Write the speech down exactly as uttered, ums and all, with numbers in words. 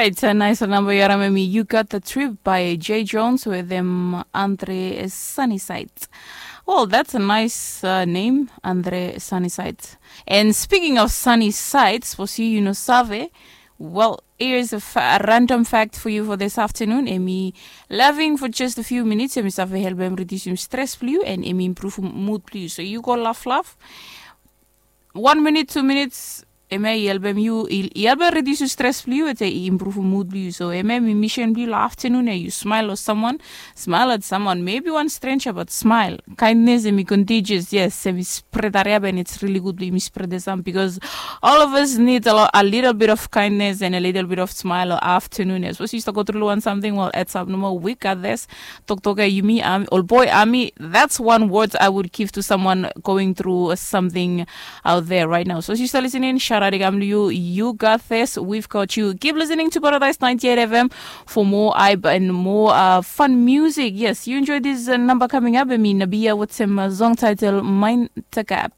It's a nice number yu harim em i You Got The Trip by Jay Jones with them Andre Sunnyside. Well, that's a nice uh, name, Andre Sunnyside. And speaking of Sunnyside, suppose you, you know Save. Well, here's a, fa- a random fact for you for this afternoon. Em i loving for just a few minutes. Em i save help em reduce stress blue and em improve mood blue. So you go laugh laugh. One minute, two minutes, em ia i helpem yu i helpem reduce yu stres blong yu, ete i improve mood blong yu. So em ia mi mission blong yu long afternoon ia yu smile long someone. Smile at someone, maybe one stranger, but smile. Kindness em i contagious. Yes, em i spread hariap and it's really good blong yumi spread the some because all of us need a, lot, a little bit of kindness and a little bit of smile long afternoon ia. Suppose yu start go through one something, well, it's up no more. We got this. Toktok ia yumi, um, old boy, ami. That's one word I would give to someone going through something out there right now. So sister listening, shout out i kam long yu. You got this. We've got you. Keep listening to Paradise ninety-eight F M for more hype and more uh, fun music. Yes, you enjoy this uh, number coming up. I mean, Nabia with some uh, song title Mind the Gap.